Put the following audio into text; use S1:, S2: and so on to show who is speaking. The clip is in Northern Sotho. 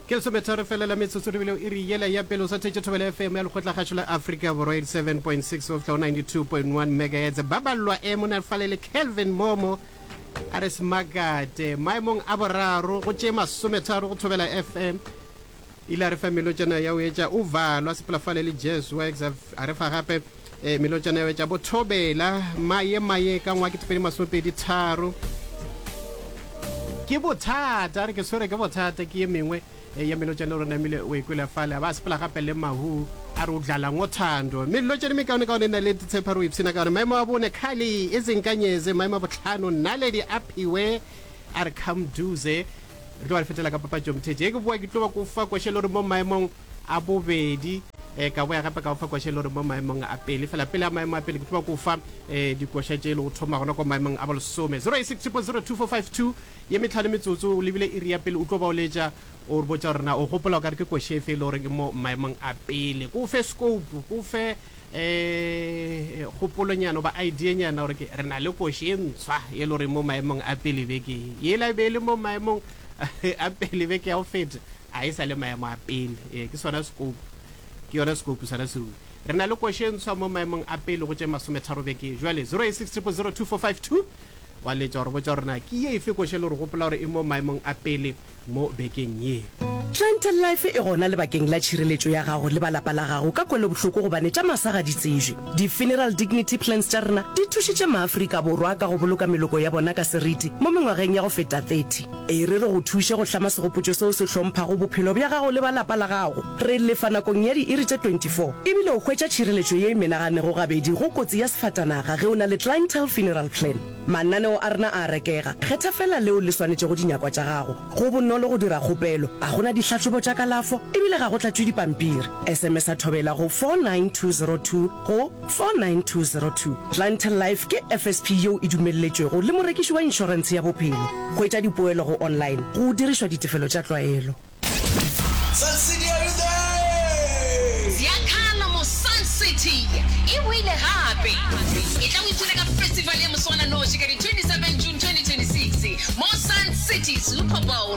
S1: Ke lesometharo fela la metsotso re bile iri yela ya pele o sa thetše Thobela FM ya Lekgotlakgašo la Afrika Borwa 87.6 go fihla go 92.1 megahertz. Ba ballwa e mona fale le Kelvin Momo a re semakate maemong a boraro go tše masometharo go Thobela FM. Ile a re fa melotšana ya o etša o valwa sepela fale le Jazz Works a re fa gape eh, melotšana ya o etša bothobela maye maye ka ngwa ke 2023 ke bothata a re ke tshwere ke bothata ke ye mengwe eh, ya melotšana o re namile o e kwele fale a ba sepela gape le mahu a re o dlala ngothando melotšana mekaone kaone na le tshepa re o ipshina ka yone maemo a bone khali e senkanyeze maemo a botlhano naledi a phiwe a re come duze Re tlo ba re fetela ka papatšo Mthetše. Ge ke boa ke tlo ba ko fa koše le gore mo maemong a bobedi eh, ka boya gape ka go fa koše le gore mo maemong a pele. Fela pele a maemo a pele ke tlo ba ko fa eh, dikoša tše e le go thoma gona kwa maemong a bolesome. 086 0002452 ye metlhano metsotso o lebile iri ya pele o tlo ba o letša o re botša gore na o gopola o ka re ke koše efe e le gore ke mo maemong a pele. Ko fe scope, ko fe eh kgopolonyana goba ideanyana gore ke re na le koši e ntshwa e le gore mo maemong a pele beke ye yela e be e le mo maemong a pele beke ya go feta a e sa le maemo a pele ee ke sona scope ke yona scope sona seo re na le koši e ntshwa mo maemong a pele go tše masometharo beke jwale 086 000 2452 wa letša gore botša gore na ke ye efe koši e le gore gopola gore e mo maemong a pele mo bekeng ye.
S2: Clientele Life e gona lebakeng la tšhireletšo ya gago le ba lapa la gago ka kwelobohloko gobane tša masa ga di tsebje. Di-Funeral Dignity Plans tša rena di thušitše maAfrika Borwa ka go boloka meloko ya bona ka seriti mo mengwageng ya go feta 30. E re re go thuše go hlama segopotšo seo se hlomphago bophelo bja gago le ba lapa la gago. Re lefa nakong ya diiri tše 24 ebile o hwetša tšhireletšo ye e menaganego gabedi go kotsi ya sefatanaga ge o na le Clientele Funeral Plan. Mananeo a rena a a rekega. Kgetha feela leo le swanetšego dinyakwa tša gago. Go bonolo go dira kgopelo, ga go na dihlahlobo tša kalafo e bile ga go tlatšwe dipampiri. SMS-a Thobela go 49202 go 49202. Clientele Life ke FSP yeo e dumelletšwego le morekiši wa inšorentshe ya bophelo. Hwetša dipoelo go online go dirišwa ditefelo tša tlwaelo.
S3: Sun City are you there?
S4: Ziyakhala mo Sun City e boile gape! Etla o ipshine ka festival ye moswananoši ka di 27 June 2026 mo Sun City Super Bowl.